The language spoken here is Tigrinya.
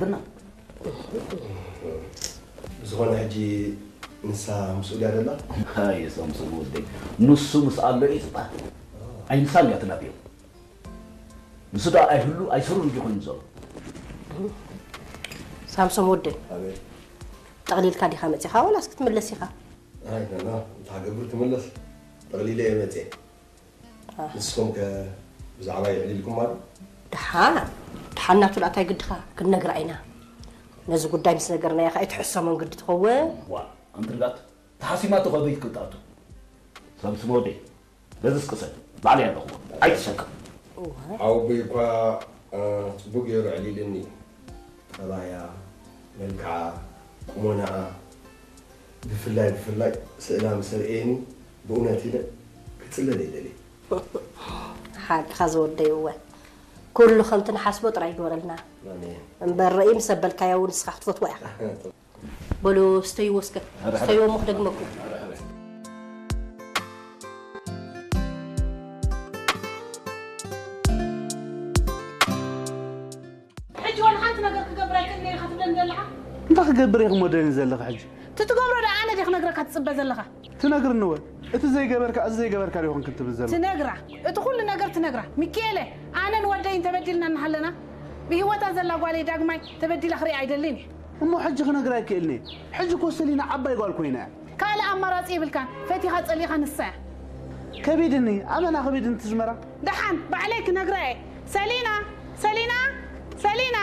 ብና ዝኾነ ሕጂ ንሳ ምስኡ ድያ ደላ? ኣይ ሳምሶን ወደይ፣ ንሱ ምስ ኣሎ እዩ ዝጣ። ኣይንሳን እያ ትናብዮ። ንሱ ደኣ ኣይህሉ ኣይስሩን ድዩ ኮይኑ ዘሎ? ሳምሶም ወደይ፣ ጠቕሊልካ ዲኻ መፂኻ ዋላስ ክትምለስ ኢኻ? ኣይ ናና፣ እንታይ ገብር ትምለስ? ጠቕሊለ እየ መፅየ። ንስኹም ከ ብዛዕባ የዕሊልኩም ኣሎ? ደሓን ደሓን ናቱ ደኣ እንታይ ግድኻ ክንነግራ ኢና። ነዚ ጉዳይ ምስ ነገርናያ ከኣ ኣይትሕሰሞን ግዲ ትኸውን። ዋ ኣንትርጋት ተሓሲማቶ ከበይ ክትኣቱ? ሳምሶም ወደይ በዚ ስቅሰል ባዕለይ ኣለኹ ኣይትሰከም። ሓወቦይ እኳ ጽቡቅ ገይሩ ኣዕሊልኒ። ጠባያ፣ መልክዓ፣ ቁመናኣ ብፍላይ ብፍላይ ስእላ ምስ ኣርእየኒ ብእውነት ኢለ ክጽለል እየ ደልየ። ሓቅኻ ዝወደይ እወ ኩሉ ከምቲ ንሓስቦ ጥራይ ይግበረልና። ኣሜን። እምበር ርእይ ምስ ኣበልካያ እውን ንስኻ ክትፈትዋ ኢኻ። በሉ ስተይዎ እስከ ስተይዎ እሞ ክደግመኩም። ሕጂ ዋላ ሓንቲ ነገር ክገብር ኣይክእልን እየ ኢኻ ትብለኒ ዘለኻ? እንታይ ክገብር ኢኺ እሞ ደኒ ዘለኺ ሕጂ? ትትገብሮ ዶ ኣነ ድየ ክነግረካ ትጽበ ዘለኻ? ትነግርኒ እወ። እቲ ዘይገበርካ እዚ ዘይገበርካ ዶ ይኾንክን ትብል ዘለኺ? ትነግራ። እቲ ኩሉ ነገር ትነግራ። ሚኪኤለ ኣነን ወደይን ተበዲልና እናሃለና ብህይወታ ዘላ ጓለይ ዳግማይ ተበዲላ ክሪኣ ኣይደልን እየ። እሞ ሕጂ ክነግራ ኣይክእልን እየ። ሕጂ እኮ ሰሊና ዓባይ ጓል ኮይና እያ። ካልእ ኣማራጺ የብልካን። ፈቲኻ ጸሊእኻ ንሳ እያ። ከቢድኒ ኣመና ከቢድኒ ትዝመራ። ደሓን ባዕለይ ክነግራ እየ። ሰሊና! ሰሊና! ሰሊና!